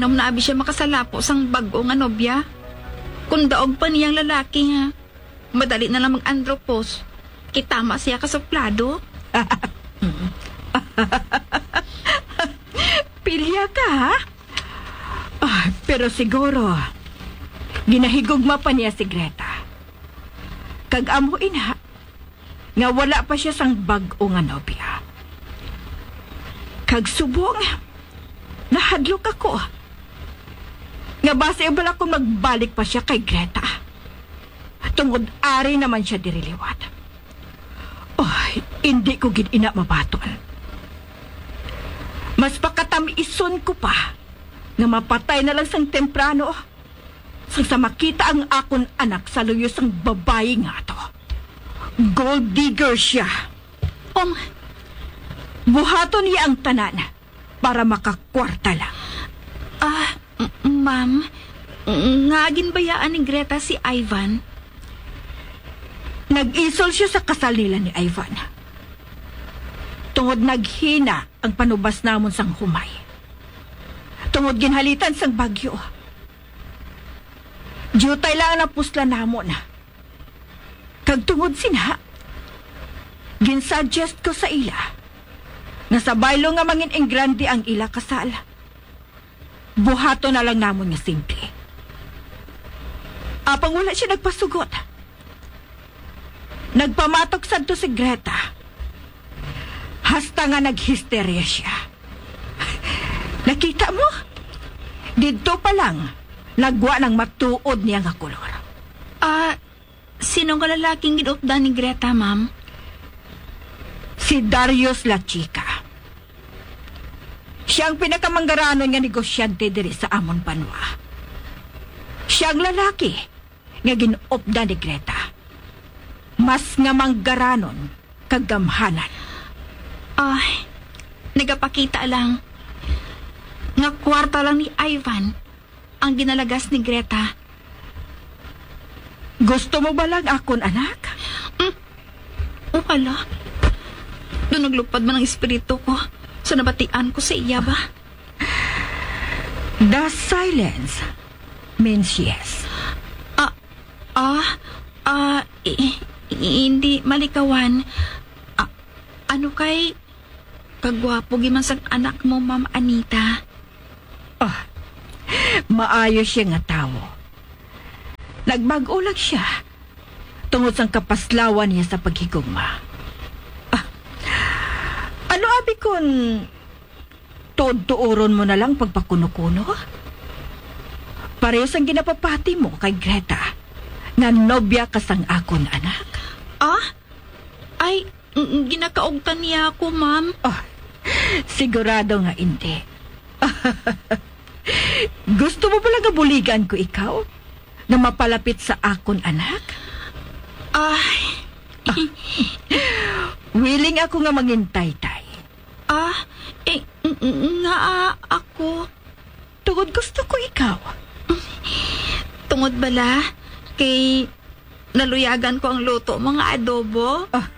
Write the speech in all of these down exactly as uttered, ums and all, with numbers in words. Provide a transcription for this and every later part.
Nung naabi siya makasalapo sang bag-o nga nobya, kung daog pa niyang lalaki, ha, madali na lang mag-andropos. Kitama siya ka suplado. Pilya ka, ha? Ah, pero siguro, ginahigugma pa niya si Greta. Kag amo ina, nga wala pa siya sang bag-o nga nobya. Kag subong, nahadlok ako nga basi bala kung magbalik pa siya kay Greta, tungod ari naman siya diri liwat. Oh, hindi ko gid ina mabaton. Mas pakatam-ison ko pa nga mapatay na lang sang temprano sang sa makita ang akon anak sa luyo sang babayi nga ato. Gold digger siya. Um, buhaton niya ang tanan para makakwarta lang. Ah, m-, ma'am, nga ginbayaan ni Greta si Ivan? Nag-isol siya sa kasal nila ni Ivan. Tungod naghina ang panubas namon sang humay. Tungod ginhalitan sang bagyo. Diutay lang ang napuslan namon. Kag tungod sina, ginsuggest ko sa ila nga sa baylo nga mangin-ingrande ang ila kasal, buhaton na lang namon nga simple. Apang wala siya nagpasugot. Nagpamatok sadto si Greta. Hasta nga naghisterya siya. Nakita mo? Didto pa lang, nagwa nang matuod niya nga kolor. Ah, sino nga lalaking gin-updan ni Greta, ma'am? Si Darius La Chica. Siya ang pinakamanggaranon nga negosyante diri sa amon banwa. Siya ang lalaki nga gin-updan ni Greta. Mas nga manggaranon kag gamhanan. Ay, nagapakita lang nga kwarta lang ni Ivan ang ginalagas ni Greta. Gusto mo ba lang akon anak? Mm. O hala. Doon naglupad man ang espiritu ko sa nabatian ko sa iya ba? The silence means yes. Ah, ah, ah, i-, i-, hindi malikawan. Ah, ano kay kagwapo giman sang anak mo, Ma'am Anita? Ah, maayo siya nga tawo. Nagbag-o lang siya tungod sang kapaslawan niya sa paghigugma. Ah, ano abi kun tuod-tuoron mo na lang pagpakuno-kuno? Pareho sang ginapapati mo kay Greta nga nobya ka sang akon anak. Ah? Ay, mm, ginakaugtan niya ako, ma'am. Oh, sigurado nga hindi. Gusto mo bala nga buligan ko ikaw nga mapalapit sa akon anak? Ay. Willing ako nga mangintay, tay. Ah, eh, ng-, nga, ah, ako. Tungod gusto ko ikaw. Tungod bala kay naluyagan ko ang luto mo nga adobo? Ah,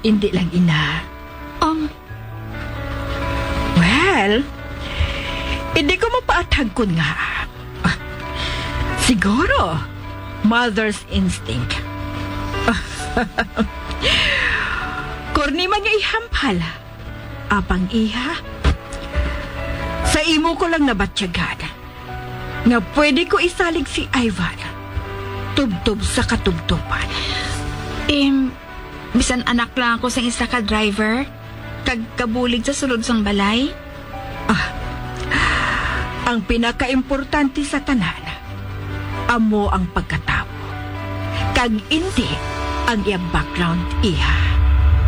hindi lang, ina. Um, Well, hindi ko mapaathag kun nga. Ah, siguro, mother's instinct. Korni man nga ihampal. Apang iha, sa imo ko lang nabatyagan nga pwede ko isalig si Ivan tubtob sa katubtoban. Em, bisan anak lang ako sang isa ka driver, kag kabulig sa sulod sang balay. Ah, ang pinakaimportante sa tanan, amo ang pagkatawo. Kag indi ang iya background, iha.